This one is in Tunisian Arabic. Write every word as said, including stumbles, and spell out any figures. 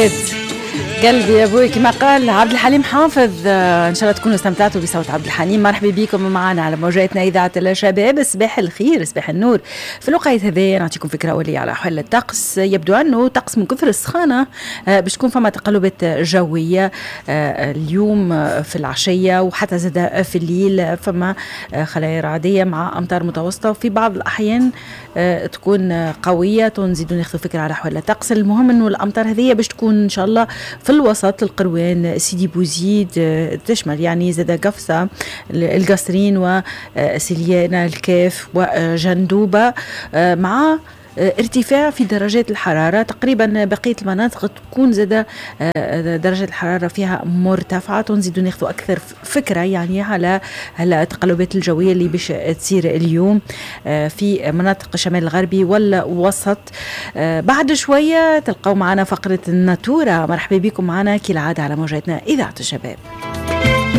قلبي يا ابوي كما قال عبد الحليم حافظ. آه، ان شاء الله تكونوا استمتعتوا بصوت عبد الحليم. مرحبا بكم معنا على موجاتنا اذاعة الشباب. صباح الخير، صباح النور. في الوقت هذا نعطيكم فكرة اوليه على احوال الطقس. يبدو انه طقس من كثر السخانه آه، باش تكون فما تقلبات جوية آه، اليوم في العشية وحتى زاد في الليل، فما خلايا رعديه مع امطار متوسطه وفي بعض الاحيان تكون قويه. نزيدوا ناخذ فكرة على احوال الطقس. المهم انه الامطار هذه باش تكون ان شاء الله في الوسط، القروان، سيدي بوزيد، آه، تشمل يعني زاد قفصة، القصرين وسليانة، الكاف وجندوبة، آه، مع آه، ارتفاع في درجات الحرارة. تقريبا بقية المناطق تكون زاد درجة الحرارة فيها مرتفعة. ونزيدوا ناخذ أكثر فكرة يعني على التقلبات الجوية اللي باش تصير اليوم في مناطق الشمال الغربي والوسط بعد شوية. تلقوا معنا فقرة الناتورة. مرحبا بكم معنا كالعادة على موجاتنا إذاعة الشباب.